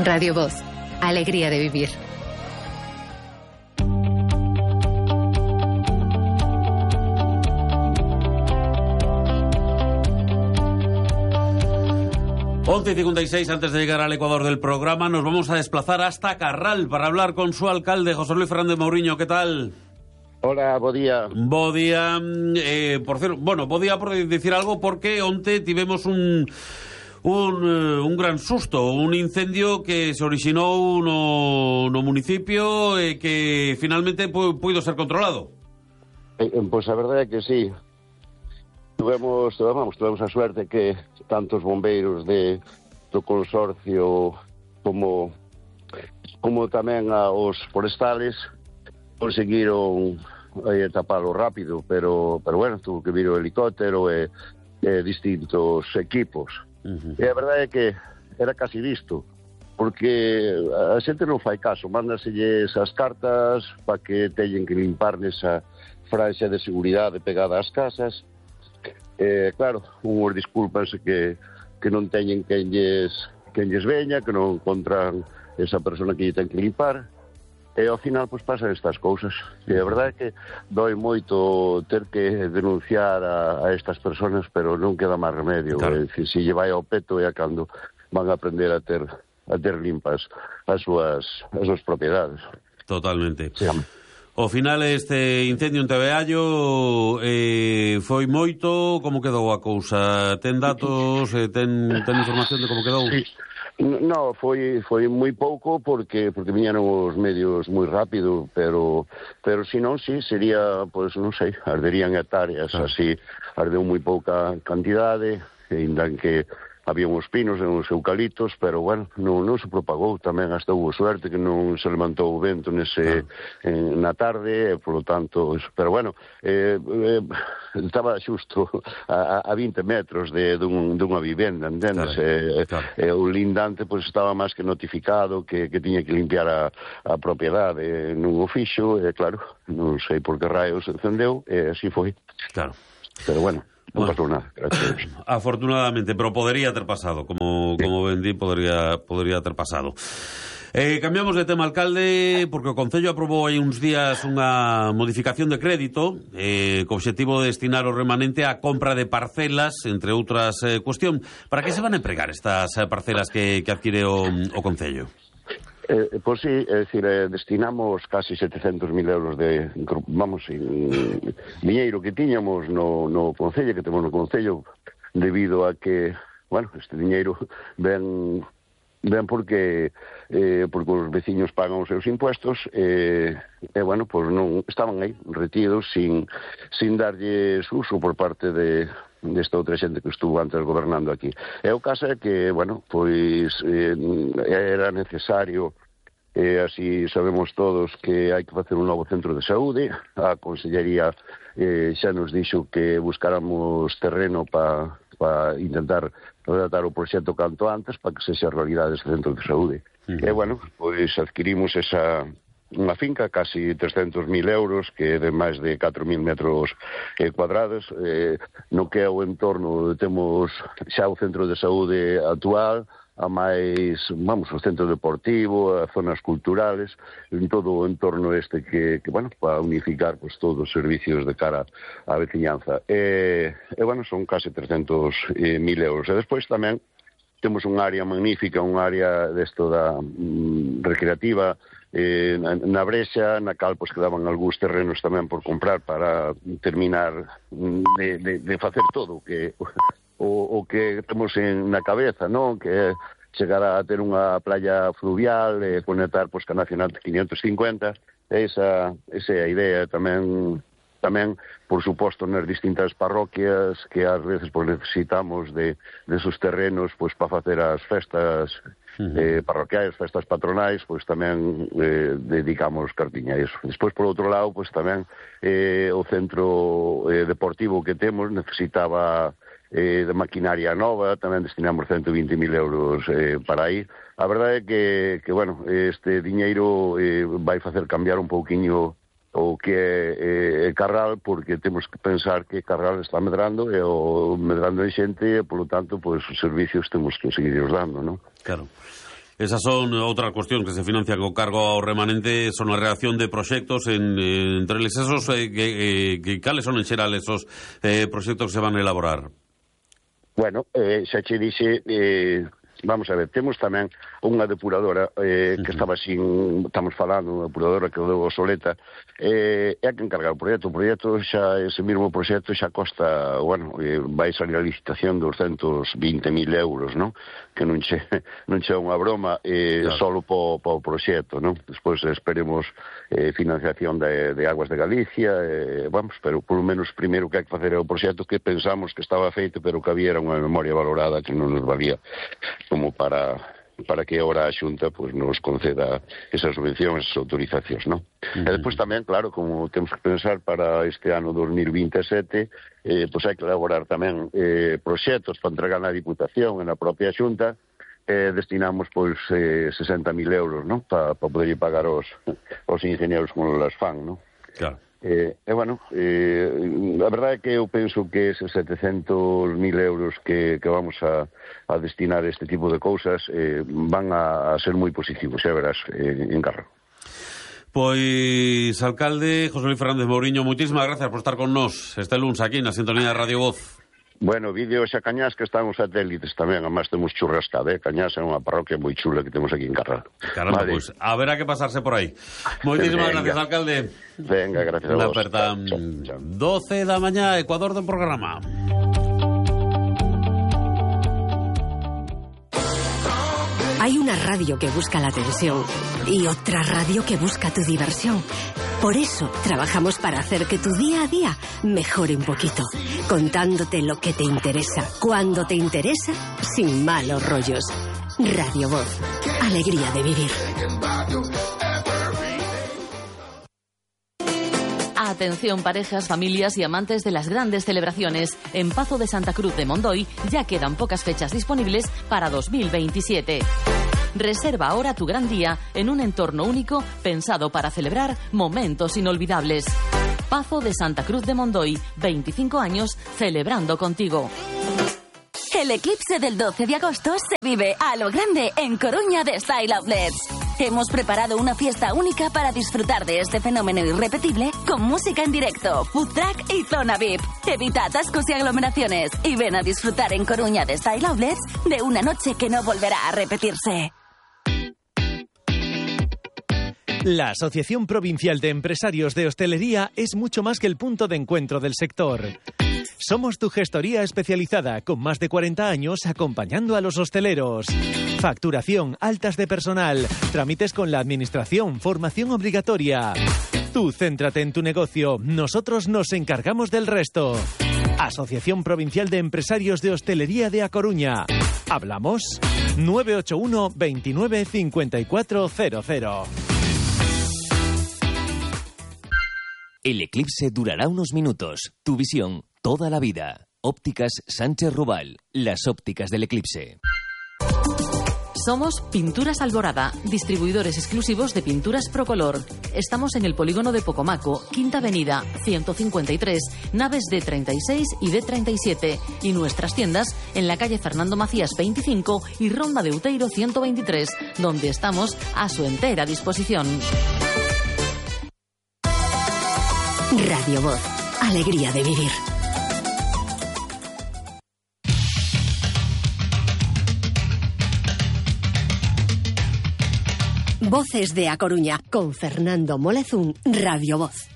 Radio Voz, alegría de vivir. Once y 56, antes de llegar al Ecuador del programa, nos vamos a desplazar hasta Carral para hablar con su alcalde, José Luis Fernández Mouriño. ¿Qué tal? Hola, bo día. Bo día, por cierto, bueno, bo día por decir algo, porque onte tivemos un gran susto, un incendio que se orixinou no municipio e que finalmente puido ser controlado. Pois a verdade é que sí. Tuvemos a suerte que tantos bombeiros do consorcio como tamén os forestales conseguiron tapalo rápido, pero bueno, tuvo que vir o helicóptero e distintos equipos. E a verdade é que era casi visto, porque a xente non fai caso, mándaselles as cartas para que teñen que limpar nesa franxa de seguridade pegada ás casas. Claro, unhos disculpanse que non teñen quen lles veña, que non encontran esa persona que lle ten que limpar, e ao final pois pasan estas cousas. E a verdade é que doi moito ter que denunciar a estas personas, pero non queda máis remedio. Claro. É dicir, se lle vai ao peto é cando van a aprender a ter limpas as súas propiedades. Totalmente. Sí. Ao final este incendio en Tebeallo foi moito, como quedou a cousa? Ten datos, ten información de como quedou? Sí. No, foi moi pouco porque viñeron os medios moi rápido, pero se non, sí, sería, pois, non sei, arderían hectáreas, así, ardeu moi pouca cantidade, ainda que había uns pinos e uns eucaliptos, pero, bueno, non se propagou. Tamén hasta hubo suerte que non se levantou o vento na tarde, por lo tanto, pero, bueno, estaba xusto a 20 metros dunha vivenda, entendes? O lindante, pois, estaba máis que notificado que tiña que limpiar a propiedade, non o fixo, e, claro, non sei por que raios se encendeu, e así foi. Claro. Pero, bueno, non pasou nada, gracias. Afortunadamente, pero podería ter pasado, como ben di, podería ter pasado. Cambiamos de tema, alcalde, porque o Concello aprobou hai uns días unha modificación de crédito co obxectivo de destinar o remanente á compra de parcelas, entre outras cuestión. Para que se van a empregar estas parcelas que adquire o Concello? Pois sí, é dicir, destinamos casi 700.000 euros de, diñeiro que tiñamos no Concello, que temos no Concello, debido a que, bueno, este diñeiro ven porque os veciños pagan os seus impuestos e bueno, pois non estaban aí retidos sin darlles uso por parte desta outra xente que estuvo antes gobernando aquí. E o caso é que, bueno, pois era necesario, así sabemos todos que hai que facer un novo centro de saúde. A Consellería xa nos dixo que buscáramos terreno para intentar redactar o proxecto canto antes para que sexa realidade ese centro de saúde. E, bueno, pois adquirimos unha finca, casi 300.000 euros, que é de máis de 4.000 metros cuadrados, no que é o entorno, temos xa o centro de saúde actual, a máis, o centro deportivo, as zonas culturales, en todo o entorno este que bueno, para unificar pues, todos os servicios de cara á veciñanza. E bueno, son casi 300.000 euros. E despois tamén temos unha área magnífica, unha área desto da recreativa, na Brexa, na cal pues, quedaban algúns terrenos tamén por comprar para terminar de facer todo o que temos na cabeza, non? Que é chegar a ter unha playa fluvial e conectar pues, ca Nacional 550. Esa é a idea tamén, por suposto, nas distintas parroquias que ás veces pues, necesitamos de esos terrenos pues, para facer as festas parroquiais, festas patronais, pois tamén dedicamos cartiña a iso. Despois, por outro lado, pois tamén o centro deportivo que temos necesitaba de maquinaria nova, tamén destinamos 120.000 euros para aí. A verdade é que bueno, este diñeiro vai facer cambiar un pouquiño o que é Carral, porque temos que pensar que Carral está medrando e o medrando en xente e, polo tanto, pois os servicios temos que seguir dando, non? Claro. Esas son outras cuestións que se financian co cargo ao remanente, son a reacción de proxectos entre eles esos cales son en xeral esos proxectos que se van a elaborar. Bueno, xa che dixe, vamos a ver, temos tamén unha depuradora que estaba estamos falando, unha depuradora que quedou obsoleta, é a que encarga o proxecto. O proxecto xa, ese mesmo proxecto xa costa, bueno, vai salir a licitación de 220.000 euros, non? Que non che unha broma, claro, solo po proxecto, non? Despois esperemos financiación de Aguas de Galicia, vamos, pero por lo menos primeiro que hai que facer é o proxecto que pensamos que estaba feito, pero que había unha memoria valorada que non nos valía como para que ahora a Xunta pues, nos conceda esas subvencións, esas autorizacións, non? E despois tamén, claro, como temos que pensar para este ano 2027, pues hai que elaborar tamén proxectos para entregar na Diputación e na propia Xunta, destinamos pois 60.000 euros, non? Para poder pagar os ingenieros como las fan, non? Claro. Bueno, a verdade é que eu penso que eses 700.000 euros que vamos a destinar a este tipo de cousas van a ser moi positivos, xa verás, en Carro. Pois, alcalde José Luis Fernández Mouriño, moitísimas gracias por estar con nós este luns aquí na sintonía de Radio Voz. Bueno, vídeos a Cañás que están os satélites tamén, además temos churrascada, Cañás é unha parroquia moi chula que temos aquí en Carral. Caramba, vale. Pois, a ver a que pasarse por aí. Moitísimas gracias, alcalde. Venga, gracias a vos. Aperta 12 da mañá, Ecuador do programa. Hay una radio que busca la atención y otra radio que busca tu diversión. Por eso trabajamos para hacer que tu día a día mejore un poquito, contándote lo que te interesa, cuando te interesa, sin malos rollos. Radio Voz, alegría de vivir. Atención parejas, familias y amantes de las grandes celebraciones. En Pazo de Santa Cruz de Mondoy ya quedan pocas fechas disponibles para 2027. Reserva ahora tu gran día en un entorno único pensado para celebrar momentos inolvidables. Pazo de Santa Cruz de Mondoy, 25 años celebrando contigo. El eclipse del 12 de agosto se vive a lo grande en Coruña de Style Outlets. Hemos preparado una fiesta única para disfrutar de este fenómeno irrepetible con música en directo, food truck y zona VIP. Evita atascos y aglomeraciones y ven a disfrutar en Coruña de Style Outlets de una noche que no volverá a repetirse. La Asociación Provincial de Empresarios de Hostelería es mucho más que el punto de encuentro del sector. Somos tu gestoría especializada con más de 40 años acompañando a los hosteleros. Facturación, altas de personal, trámites con la administración, formación obligatoria. Tú céntrate en tu negocio, nosotros nos encargamos del resto. Asociación Provincial de Empresarios de Hostelería de A Coruña. ¿Hablamos? 981 29 5400. El eclipse durará unos minutos. Tu visión, toda la vida. Ópticas Sánchez Rubal. Las ópticas del eclipse. Somos Pinturas Alborada, distribuidores exclusivos de pinturas Procolor. Estamos en el polígono de Pocomaco, Quinta Avenida, 153, naves D36 y D37. Y nuestras tiendas en la calle Fernando Macías 25 y Ronda de Uteiro 123, donde estamos a su entera disposición. Radio Voz, alegría de vivir. Voces de A Coruña con Fernando Molezún, Radio Voz.